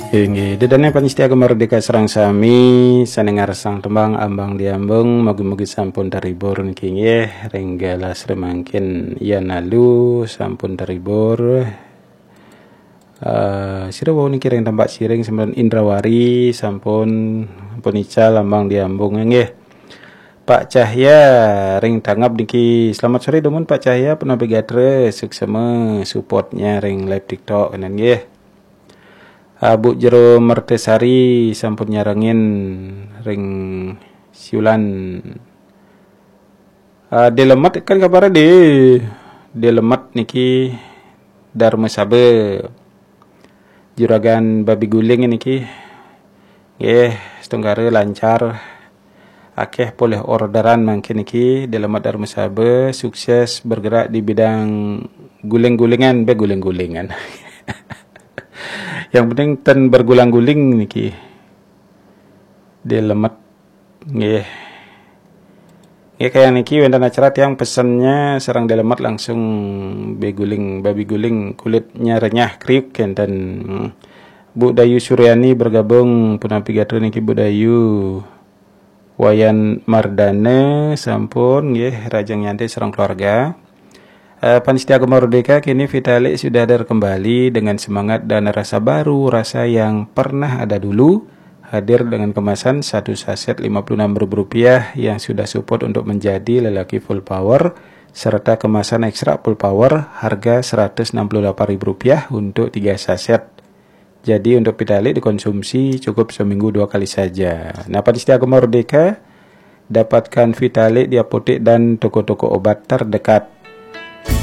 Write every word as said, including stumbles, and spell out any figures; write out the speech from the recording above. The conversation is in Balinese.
Inggih, ida dané pamiarsa Gema Merdeka sareng sami, sané ngarsang tembang Ambang Diambung, mugi-mugi sampun terhibur niki nggih, ring galah sri mangkin yan alu sampun terhibur. Eh, sira wau niki ring Tambak Siring, sampun Indrawari, sampun, sampun ical Ambang Diambung nggih. Pak Cahya ring Tangap niki, selamat sore dumun Pak Cahya, punapi gatra, suksma supportnya ring live TikTok kanan nggih. Ah, Bu Jero Mertesari sampun nyarengin ring Siulan. Ah, Delemet kan kabar di Delemet niki Dharma Saba. Juragan Babi Guling niki. Nggih, setungkara lancar. Akeh polih orderan mangkin niki, Delemet Dharma Saba, sukses bergerak di bidang guling-gulingan, be guling-gulingan. Yang penting ten bergulang-guling niki. Delemet. Nggih. Nggih, kayang niki wénten acara tiang pesennya sareng Delemet langsung beguling, babi guling kulitnya renyah kriuk kénten. Hmm. Bu Dayu Suryani bergabung, punapi gatra niki Bu Dayu. Wayan Mardana sampun nggih, Rajang Nyantai sareng keluarga. Eh, Pan Setia Gema Merdeka, kini Vitalik sudah hadir kembali dengan semangat dan rasa baru, rasa yang pernah ada dulu, hadir dengan kemasan satu saset lima puluh enam ribu rupiah yang sudah support untuk menjadi lelaki full power, serta kemasan ekstra full power harga seratus enam puluh delapan ribu rupiah untuk tiga saset. Jadi untuk Vitalik dikonsumsi cukup seminggu dua kali saja. Nah, Pan Setia Gema Merdeka, dapatkan Vitalik di apotek dan toko-toko obat terdekat.